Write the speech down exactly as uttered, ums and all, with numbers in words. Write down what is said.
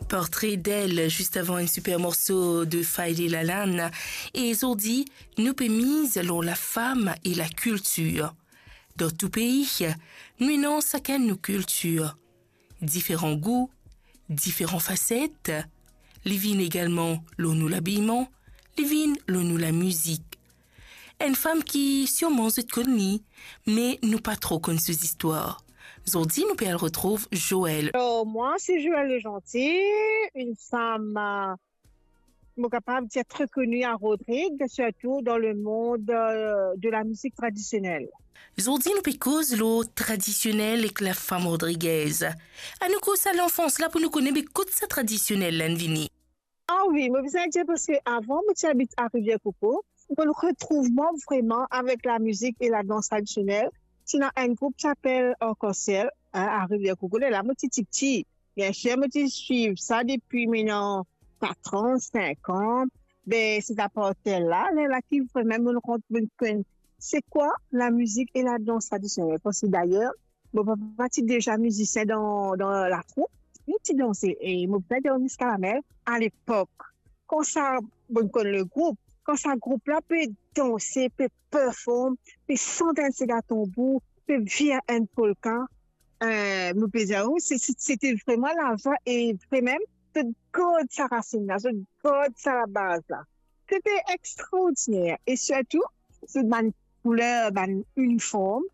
Portre d'elle, zis avan enn siper morso de Faïly Lalane. E zordi, nou pe miz lor lafam e lakiltir. Dan tou pei, nou ena sakenn nou kiltir. Diferan gou, diferan faset. Li vinn egalman lor nou labiyman, li vinn lor nou lamizik. Enn fam ki sirman zot konn li, me nou pa tro konn so zistwar. Zordi, nou pe al retrouv Joël. Alors, moi, c'est Joël Le Gentil, une femme, euh, mo kapav dir, très connue à Rodrigues, surtout dans le monde, euh, de la musique traditionnelle. Zordi, nou pe koz lor tradisionel ek lafam rodrigez. Anou koz sa lanfans la pou nou kone be kot sa tradisionel la inn vini. Ah wi, mo bizin dir, parski avan, mo ti abit a Rivière Coco, mo retrouv mwa vreman avek lamizik e ladans tradisionel. Ti ena enn group ki apel Arc-en-Ciel, hein, a Rivière Coco, lerla mo ti tipti. Biensir, mo ti swiv sa depi, mo ena kat an, sink an. Be, se apartir de la, lerla ki vreman mo rant, mo konn se kwa lamizik e ladans tradisionel. Parski dayer, mo papa ti deza mizisien dan, dan latroup. Li ti danse, e mo bizin dir Miss Caramel, a lepok, kan sa, bon, konn le group, kan sa group la pe danse, pe perform, pe sant enn sega tanbour, pe vir enn polka, eh, mo pe dir ou, se, se, se ti vreman lazwa e vremem, zot gard sa rasinn la, zot gard sa labaz la. Se ti extraordiner. E sirtou, zot bann kouler, bann iniform,